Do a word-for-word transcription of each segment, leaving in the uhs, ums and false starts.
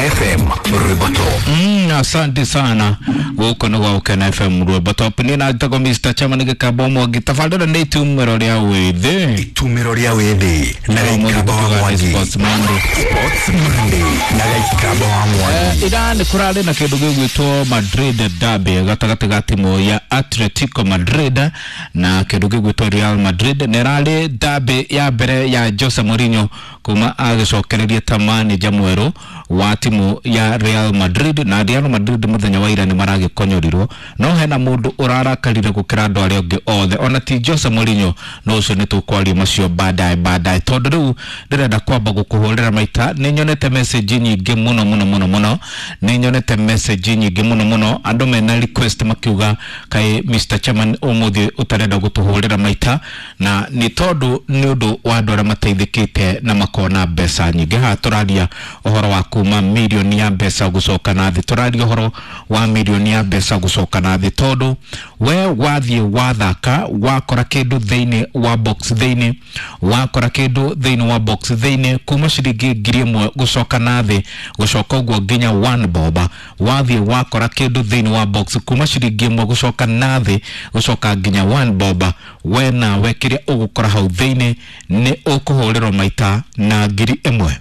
F M Rwimbo. Mm, asante sana guku nĩ gwa Gũkena F M Rwimbo Top. Niĩ na njĩtagwo Mister Chairman Gĩkamba Mwangi. Tabarĩra nĩ itumĩro rĩa wĩthĩ. Itumĩro rĩa wĩthĩ na Gĩkamba wa Mwangi. Sports Monday. Sports Monday na Gĩkamba wa Mwangi. Eh, ira nĩ kũrarĩ na kĩndũ gĩgwĩtwo Madrid Derby gatagatĩ ga timu ya Atletico Madrid na kĩndũ gĩgwĩtwo Real Madrid. Nĩ ĩrarĩ derby ya mbere ya Jose Mourinho kuma agĩcokereria ta manager mwerũ wa timu ya Real Madrid, na Real Madrid muthenya wa ira nĩ maragĩkonyorirwo, no hena mũndũ ũrarakarire gũkĩra andũ arĩa angĩ othe, ona ti Jose Mourinho, no ũcio nĩ tũkwaria macio baadaye baadaye, tondũ rĩu ndĩrenda kwamba gũkũhũrĩra maita. Nĩ nyonete message nyingĩ mũno mũno mũno mũno, nĩ nyonete message nyingĩ mũno mũno, andũ mena request makiuga kaĩ Mister Chairman ũmũthĩ ũtarenda gũtũhũrĩra maita, na nĩ tondũ nĩ ũndũ wa andũ arĩa mateithĩkĩte na makona mbeca nyingĩ. Haha tũraria ũhoro wa kuma milioni ya mbeca gũcoka na thĩ, tũraria ũhoro wa milioni ya mbeca gũcoka na thĩ, tondũ we wathiĩ wathaka wakora kĩndũ thĩinĩ wa box thĩinĩ, wakora kĩndũ thĩinĩ wa box thĩinĩ kuma ciringi ngiri ĩmwe gũcoka na thĩ gũcoka ũguo nginya one bob, wathiĩ wakora kĩndũ thĩinĩ wa box kuma ciringi ĩmwe gũcoka na thĩ gũcoka nginya one bob, we nawe kĩrĩa ũgũkora hau thĩinĩ nĩ ũkũhũrĩrwo maita na ngiri ĩmwe,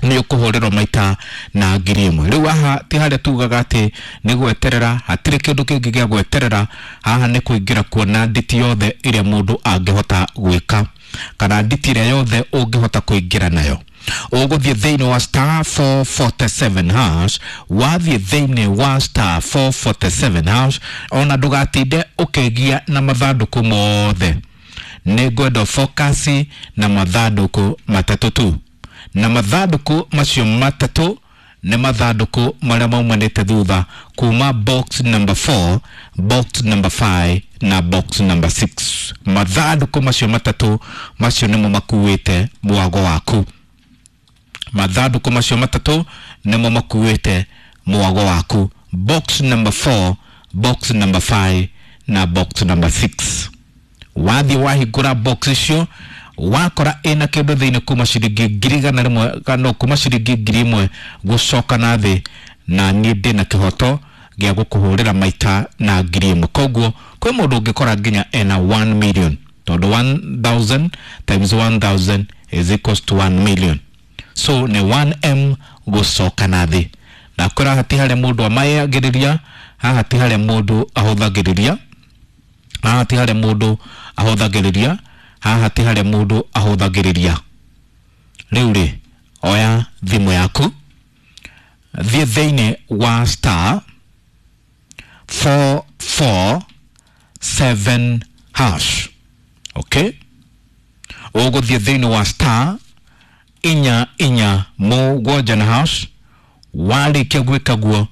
nĩ ũkũhũrĩrwo maita na ngiri ĩmwe. Rĩu haha ti harĩa tugaga atĩ nĩ gweterera, hatirĩ kĩndũ kĩngĩ gĩa gweterera, haha nĩ kũingĩra kuona nditi yothe ĩrĩa mũndũ angĩhota gwĩka kana nditi ĩrĩa yothe ũngĩhota kũingĩra nayo. Ũgũthiĩ thĩinĩ wa star four forty-seven hash, wathiĩ thĩinĩ wa star four forty-seven hash, ona ndũgatinde ũkĩgia na mathandũkũ mothe, nĩ ngwenda focus na mathandũkũ matatũ tu, na mathandũkũ macio matatũ nĩ mathandũkũ marĩa maumanĩte thutha kuma box number four, box number five na box number six. Mathandũkũ macio matatũ macio nĩmo makuĩte mwago waku, mathandũkũ macio matatũ nĩmo makuĩte mwago waku, box number four, box number five na box number six. Wathiĩ wahingũra box icio wakora ĩna kĩndũ thĩinĩ kuma ciringi ngiri igana rĩmwe kana kuma ciringi ngiri ĩmwe gũcoka na thĩ, na niĩ ndĩna kĩhoto gĩa gũkũhũrĩra maita na ngiri ĩmwe. Koguo kwĩ mũndũ ũngĩkora nginya ena one million, tondũ one thousand times one thousand is equals to one million, so nĩ one M gũcoka na thĩ. Ndakwĩra haha ti harĩa mũndũ amayagĩrĩria, haha ti harĩa mũndũ ahũthagĩrĩria, haha ti harĩa mũndũ ahũthagĩrĩria, haha ti harĩa mũndũ ahũthagĩrĩria. Rĩu rĩ, oya thimũ yaku, thiĩ thĩinĩ wa star four four seven hash. Okay, ũgũthiĩ thĩinĩ wa star inya inya mũgwanja na hash. Warĩkia gwĩka guo,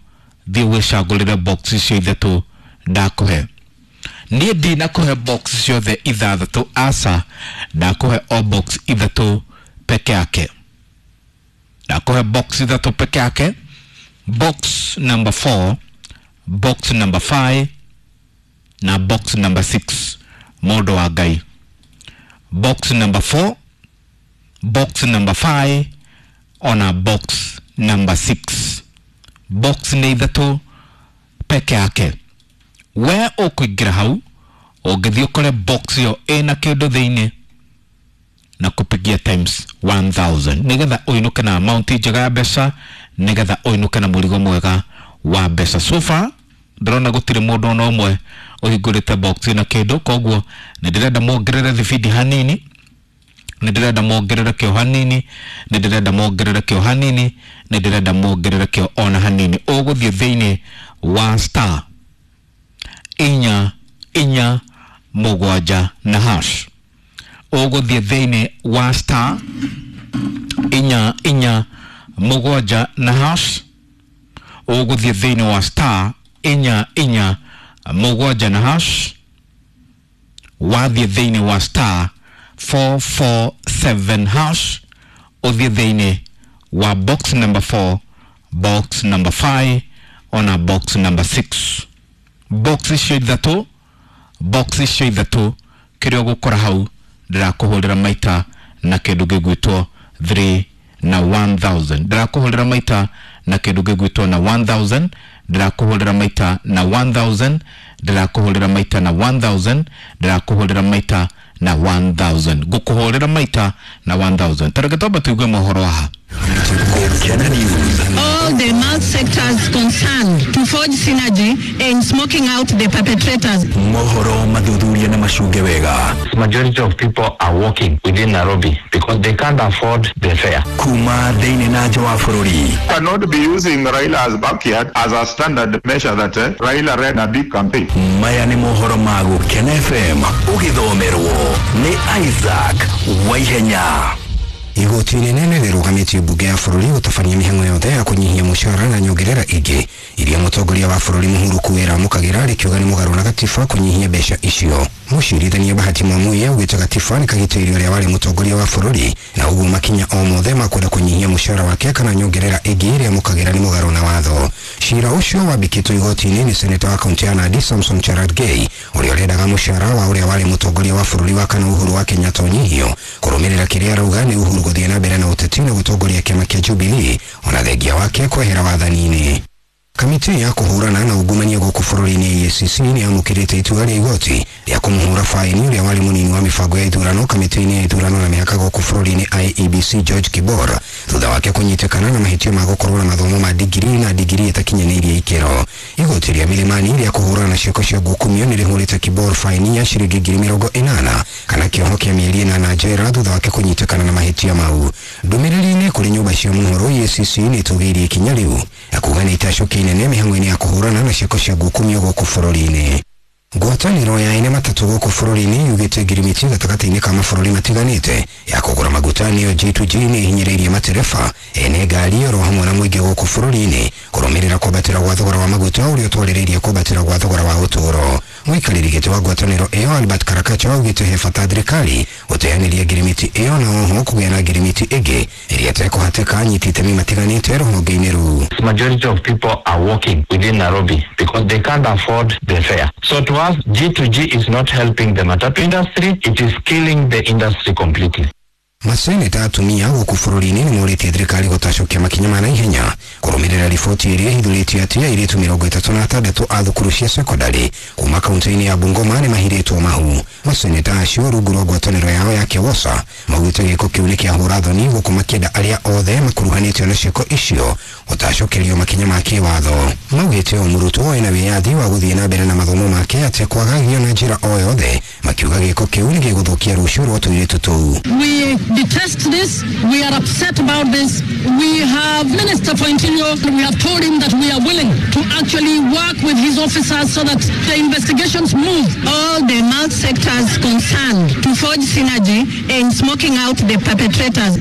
thiĩ wĩcagũrĩre box icio ithatũ ndakũhe. Niĩ ndinakũhe box ciothe ithathatũ, aca, ndakũhe o box ithatũ peke yake, ndakũhe box ithatũ peke yake, box number four, box number five na box number six. Mũndũ wa Ngai, box number four, box number five ona box number six. Box nĩ ithatũ peke yake. We ũkũingĩra hau ũngĩthiĩ ũkore box ĩyo ĩna kĩndũ thĩinĩ na kũpigia times one thousand, nĩgetha ũinũke na amount njega ya mbeca, nĩgetha ũinũke na mũrigo mwega wa mbeca. So far ndĩrona gũtirĩ mũndũ ona ũmwe ũhingũrĩte box ĩna kĩndũ, koguo nĩ ndĩrenda muongerere thibindi hanini, nĩ ndĩrenda muongerere kĩo hanini, nĩ ndĩrenda muongerere kĩo hanini, nĩ ndĩrenda muongerere kĩo ona hanini. Ũgũthiĩ thĩinĩ wa star inya inya mũgwanja na hash, ũgũthiĩ thĩinĩ wa star inya inya mũgwanja na hash, ũgũthiĩ thĩinĩ wa star inya inya mũgwanja na hash, wathiĩ thĩinĩ wa star four four seven hash, ũthiĩ thĩinĩ wa box number four, box number five ona box number six. Box icio ithatũ, box icio ithatũ kĩrĩa ũgũkora hau ndĩrakũhũrĩra maita na kĩndũ gĩgwĩtwo three na one thousand. Ndĩrakũhũrĩra maita na kĩndũ gĩgwĩtwo na one thousand. Ndĩrakũhũrĩra maita na one thousand. Ndĩrakũhũrĩra maita na one thousand. Ndĩrakũhũrĩra maita na one thousand. Ngũkũhũrĩra maita na one thousand. Tareke twambe tuigue mohoro haha. All the mouth sectors concerned to forge synergy in smoking out the perpetrators. Mohoro mathuthuria na macunge wega. Majority of people are walking within Nairobi because they can't afford the fare. Kuma thĩinĩ na nja wa bũrũri. Cannot be using Raila's backyard as a standard measure that eh, Raila ran a big campaign. Maya nĩ mohoro ma Gũkena F M ũgĩthomerwo nĩ Isaac Waihenya. Igoti inene rĩrũgamĩtie mbunge ya bũrũri gũtabania mĩhang'o yothe ya kũnyihia mũcara na nyongerera ingĩ iria mũtongoria wa bũrũri Mũhuru Kuwera amũkagĩra rĩkiuga nĩ mũgarũ na gatiba kũnyihia mbeca icio. Mũcirithania Bahati Mwamuye augĩte gatiba nĩ kagitĩire ũrĩa warĩ mũtongoria wa bũrũri na ũguo makinya o mothe ma kwenda kũnyihia mũcara wake kana nyongerera ĩngĩ ĩrĩa amũkagĩra nĩ mũgarũ na watho. Cira ũcio wambĩkĩtwo igoti-inĩ nĩ seneta wa kaunti ya Nandi Samson Cherargei ũrĩa ũrendaga mũcara wa ũrĩa warĩ mũtongoria wa bũrũri wa kana Uhuru wa Kenyatta ũnyihio kũrũmĩrĩra kĩrĩa arauga nĩ Uhuru gũthiĩ na mbere na ũteti na gũtongoria kĩama kĩa Jubilee ona thengia wake kwehera wathani-inĩ. Kamĩtĩ ya kũhũrana na ungumania gũkũ bũrũri-inĩ E A C C nĩ yamũkĩrĩte itua rĩa igoti rĩa kũmũhũra faini ũrĩa warĩ mũnini wa mĩbango ya ithurano kamĩtĩ-inĩ ya ithurano na mĩhaka gũkũ bũrũri-inĩ I E B C George Kibor thutha wake kũnyitĩkana na mahĩtio ma gũkorwo na mathomo ma digiri na digiri ĩtakinyanĩirie ikĩro. Igoti rĩa Milimani rĩa kũhũrana na ciĩko cia ngukumio nĩ rĩhũrĩte Kibor faini ya ciringi ngiri mĩrongo ĩnana kana kĩoho kĩa mĩeri ĩnana njera thutha wake kũnyitĩkana na mahĩtia mau. Ndũmĩrĩri-inĩ kũrĩ nyũmba cia mohoro E A C C nĩ ĩtũgĩirie ikinya rĩu na kuuga nĩ itacũkia inene mĩhang'o-inĩ ya kũhũrana na ciĩko cia ngukumio gũkũ bũrũri-inĩ. Ngwatanĩro ya ene matatũ gũkũ bũrũri-inĩ yugĩte ngirimiti gatagatĩ-inĩ ka mabũrũri matiganĩte ya kũgũra maguta nĩyo G two G nĩ ĩhinyĩrĩirie matereba ene ngari oro hamwe na mũingĩ gũkũ bũrũri-inĩ kũrũmĩrĩra kwambatĩra gwa thogora wa maguta ũrĩa ũtwarĩrĩirie kwambatĩra gwa thogora wa ũtũũro. Mũikarĩri gĩtĩ wa ngwatanĩro ĩyo Albert Karakacha augĩte he bata thirikari gũteanĩria ngirimiti ĩyo na oho kũgĩa na ngirimiti ĩngĩ ĩrĩa ĩtekũhatĩka anyiti itemi matiganĩte rũhonge-inĩ rũu. Majority of people are walking within Nairobi because they can't afford the fare. So to us, G two G is not helping the matatu industry, it is killing the industry completely. Maseneta atumia gũkũ bũrũri-inĩ nĩ morĩtie thirikari gũtacũkia makinya ma naihenya kũrũmĩrĩra riboti ĩrĩa ĩhithũrĩtio atĩ airĩtu mĩrongo ĩtatũ na atandatũ a thukuru cia sekondarĩ kuma kaunti-inĩ ya Bungoma nĩ mahirĩtwo mahu. Maseneta acio rungu rwa ngwatanĩro yao ya KEWOSA maugĩte gĩko kĩu nĩ kĩahũra thoni gũkũ makĩenda arĩa othe makuruhanĩtio na ciĩko icio gũtacũkĩrio makinya ma kĩwatho. Maugĩte o mũrutwo ena wĩyathi wa gũthiĩ na mbere na mathomo make atekwagagio na njĩra o yothe, makiuga gĩko kĩu nĩ gĩgũthũkia rũciũ rwa tũirĩtu tũu. We detest this. We are upset about this. We have Minister for Interior. We have told him that we are willing to actually work with his officers so that the investigations move. All the mouth sectors concerned to forge synergy in smoking out the perpetrators.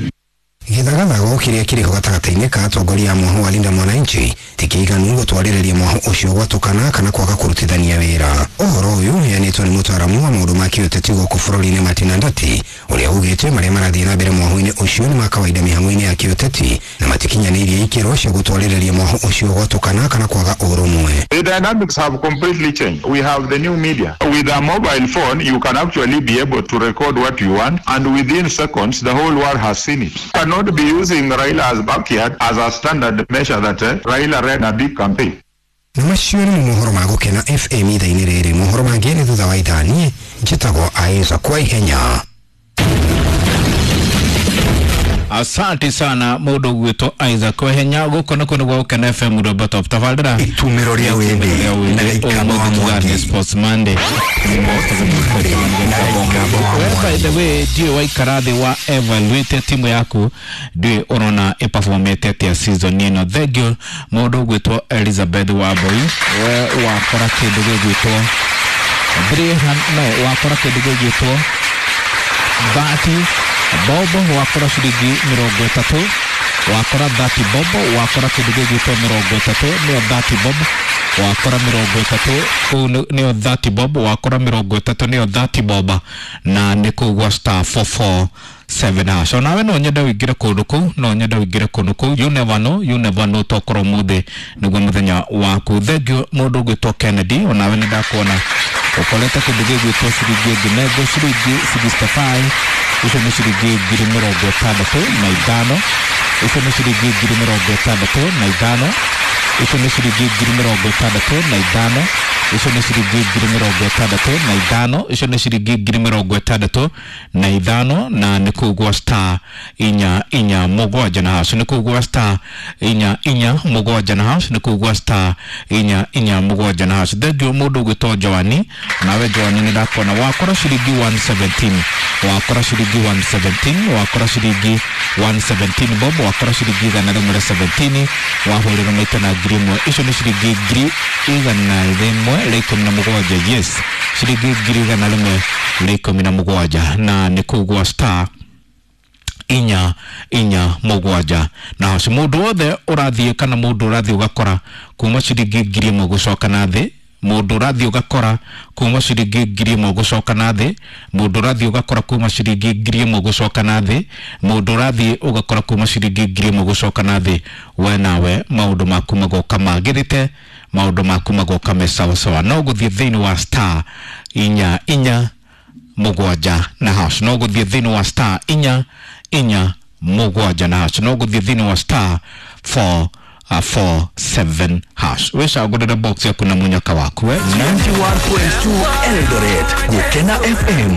Gĩthagathago kĩrĩa kĩrĩ ho gatagatĩ-inĩ ka atongoria a mwahu wa Linda Mwananchi ti kĩiganu gũtwarĩrĩria mwahu ũcio gwatũkana kana kwaga kũrutithania wĩra. Ũhoro ũyũ ũheanĩtwo nĩ mũtaaramu wa maũndũ ma kĩũteti gũkũ bũrũri-inĩ Martin Andati ũrĩa ugĩte marĩa marathiĩ na mbere mwahu-inĩ ũcio nĩ ma kawaida mĩhang'o-inĩ ya kĩũteti na matikinyanĩirie ikĩro cia gũtwarĩrĩria mwahu ũcio gwatũkana kana kwaga ũrũmwe. The dynamics have completely changed. We have the new media. With a mobile phone, you can actually be able to record what you want, and within seconds, the whole world has seen it. Cannot be using Raila's backyard as a standard measure that eh, Raila ran a big campaign. Na macio nĩ mohoro ma Gũkena F M ithaa-inĩ rĩrĩ. Mohoro mangĩ nĩ thutha wa ithaa. Niĩ njĩtagwo Isaac Waihenya. Asante sana mũndũ gwĩtwo Isaac Waihenya. Gũkũ nĩkuo nĩ gwa Gũkena F M Roberto top tabarĩra itumĩro rĩa wĩthĩ na gĩikamba wa Mwangi Sports Monday. By the way, ndiũĩ waikara thĩ wa evaluate timu yaku, ndiũĩ ũrona ĩperformete atĩa season ĩno. Thank you mũndũ gwĩtwo Elizabeth Wambui, we wakora kĩndũ gĩgwĩtwo three hundred, no wakora kĩndũ gĩgwĩtwo thirty bobo, wakora ciringi mĩrongo ĩtatũ, wakora thirty bobo, wakora kĩndũ gĩgwĩtwo mĩrongo ĩtatũ, nĩyo thirty bob, wakora mĩrongo ĩtatũ, kũu nĩyo thirty bob, wakora mĩrongo ĩtatũ nĩyo thirty bob, na nĩ kũu gwa star four four seven hash. Onawe no nyende ũingĩre kũndũ kũu, no nyende ũingĩre kũndũ kũu, you never know, you never know, tokorwo ũmũthĩ nĩguo mũthenya waku. Thank you mũndũ ũgwĩtwo Kennedy, onawe nĩ ndakuona Ũkorete kĩndũ gĩgwĩtwo ciringi ĩngĩ ciringi sixty-five, icio nĩ ciringi ngiri mĩrongo ĩtandatũ na ithano, icio nĩ ciringi ngiri mĩrongo ĩtandatũ na ithano, icio nĩ ciringi ngiri mĩrongo ĩtandatũ na ithano, icio nĩ ciringi ngiri mĩrongo ĩtandatũ na ithano, icio nĩ ciringi ngiri mĩrongo ĩtandatũ na ithano, na nĩ kũu gwa star inya inya mũgwanja na hash, nĩ kũu gwa star inya inya mũgwanja na hash, nĩ kũu gwa star inya inya mũgwanja na hash. Thengiũ mũndũ ũgwĩtwo Joani, nawe Joani nĩ ndakona wakora ciringi one seventeen, wakora ciringi one seventeen, wakora ciringi one seventeen bob, wakora ciringi igana rĩmwe rĩa seventeen, wahũrĩrwo maita na ngiri ĩmwe, icio nĩ ciringi ngiri igana rĩmwe rĩa ikũmi na mũgwanja, yes, ciringi ngiri igana rĩmwe rĩa ikũmi na mũgwanja, na nĩ kũu gwa star inya inya mũgwanja na hash. Mũndũ wothe ũrathiĩ kana mũndũ ũrathiĩ ũgakora kuma ciringi ngiri ĩmwe gũcoka na thĩ, mũndũ ũrathiĩ ũgakora kuma ciringi ngiri ĩmwe gũcoka na thĩ, mũndũ ũrathiĩ ũgakora kuma ciringi ngiri ĩmwe gũcoka na thĩ, mũndũ ũrathiĩ ũgakora kuma ciringi ngiri ĩmwe gũcoka na thĩ, we nawe maũndũ maku magoka magĩrĩte, maũndũ maku magoka me sawasawa. No gũthiĩ thĩinĩ wa star inya inya mũgwanja na hash, no gũthiĩ thĩinĩ wa star inya inya mũgwanja na hash, no gũthiĩ thĩinĩ wa star four Uh, four seven hash. Wĩcagũrĩre box yaku na mũnyaka waku we. ninety-one point two Eldoret, Gukena F M.